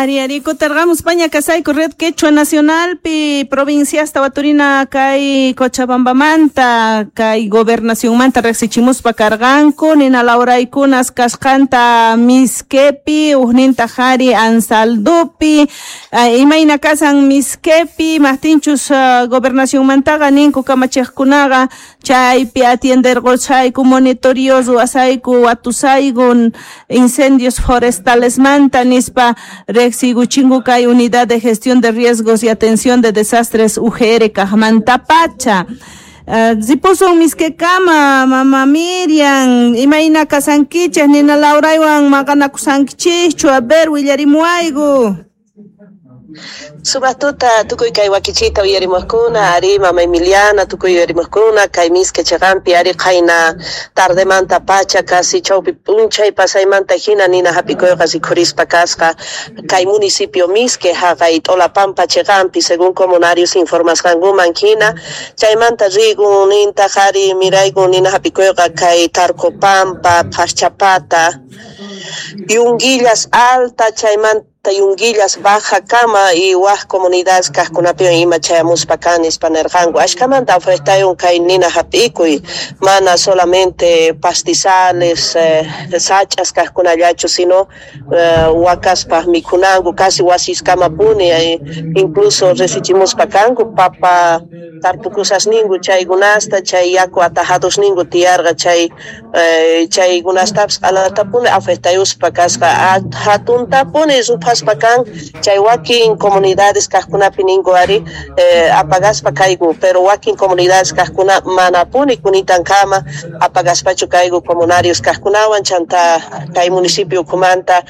Ari, ari, kutirqamus paña kasayku Red Quechua Nacionalpi provinciasta waturina kay Cochabambamanta kay gobernacionmanta riqsichimuspa karqanku nina lawraykunas kasqanta Misquepi ujnintaq ari Anzaldupi. Imayna kasan Misquepi maqtinchus gobernacionmantaqa ninku kamachiqkunaqa chaypi atienderqusayku monitoreo ruwasayku watusayku incendios forestalesmanta nispa riqsiykuchinku kay Unidad de Gestión de Riesgos y Atención de Desastres UGR kaqmantapacha. Ripusun Misquekama, mama Miriam, imayna kasankichej nina lawraywan maqanakusankichikchu, a ver willarimuwayku. Sumaq tuta tukuy kay wakichita uyarimuqkuna, ari mama Emiliana tukuy uyarimuqkuna kay Misque chiqanpi ari qayna tardemanta pacha casi chawpi p'unchay pasaymanta hina nina hap'ikuyqa rikhurispa kasqa kay municipio Misque haqay T'olapampa chiqanpi según comunarios informasqankuman hina chaymanta rikun nintaq ari miraykun nina hap'ikuyqa kay Tarcopampa, Phachapata, Yunguillas Alta chaymanta Yunguillas Baja kama y waj comunidades kaqkunapiwan ima chayamuspa kan nispa nirqanku ashkamanta afectayun kay nina hap'ikuy mana solamente pastizales sach'as kaqkunallachu sino wakaspaq mikhunanku casi wasiskamapuni incluso risichimuspa kanku papa tarpukusasninku chaykunasta chay yaku atajadosninku tiyarqa chay chaykunastapis q'alatapuni afectayuspa kasqa hatuntapuni ruphaspa kan chay wakin comunidades kaqkunapi ninku ari apagaspa kayku pero wakin comunidades kaqkuna manapuni kunitankama apagaspachu kayku comunarios kaqkunawan chanta kay municipio ukhumanta.